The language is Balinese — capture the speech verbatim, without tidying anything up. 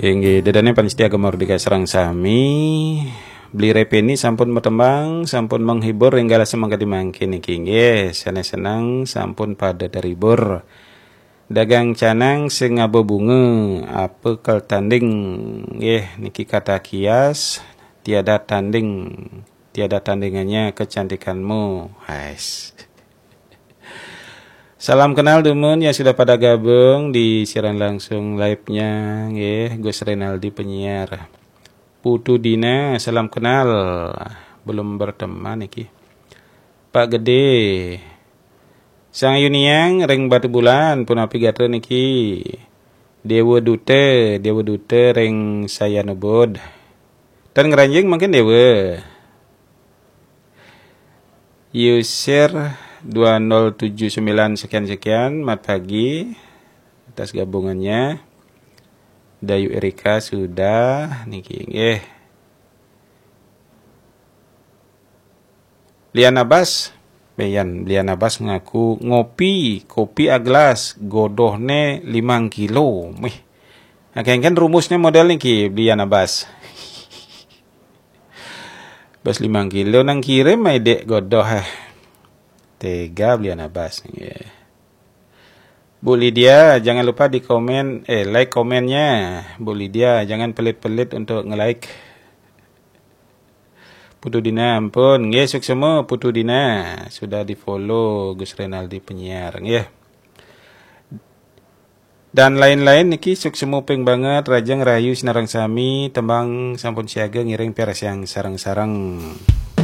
Inggih, dedane panitia Gema Merdeka sareng sami. Beli Repeni sampun matembang, sampun menghibur, enggal semangka dimangkin niki. Inggih, sane seneng sampun pada terhibur. Dagang canang sing ngaba bunga, apa kal tanding. Nggih, niki kata kias, tiada tanding, tiada tandingannya kecantikanmu. Hais. Salam kenal dumun yang sudah pada gabung di siaran langsung live-nya, nggih, Gus Renaldi penyiar. Putu Dina, salam kenal. Belum berteman niki. Pak Gede. Sang Yuniang ring Batu Bulan, punapi gatra niki. Dewa Duta, Dewa Duta ring Sayanubud. Tan Ngranjing mungkin Dewa. User dua nol tujuh sembilan sekian-sekian, mat pagi atas gabungannya. Dayu Erika sudah niki, nggih. Liana Bas, Beyan, Liana Bas ngaku ngopi, kopi agelas, godohne limang kilo. Mih. Nah, kan rumusnya model niki, Liana Bas. Bas limang kilo nang kirim ai dek godoh, eh. Tega Liana Bas, nggih. Bu Lydia, jangan lupa di komen, eh, like komennya. Bu Lydia, jangan pelit-pelit untuk nge-like. Putu Dina, ampun. Nggih, suksema Putu Dina. Sudah di-follow Gus Renaldi penyiar, nggih. Dan lain-lain niki suksema ping banget, rajeng rahayu sinareng sami, tembang sampun siaga ngiring piarsang sareng-sareng.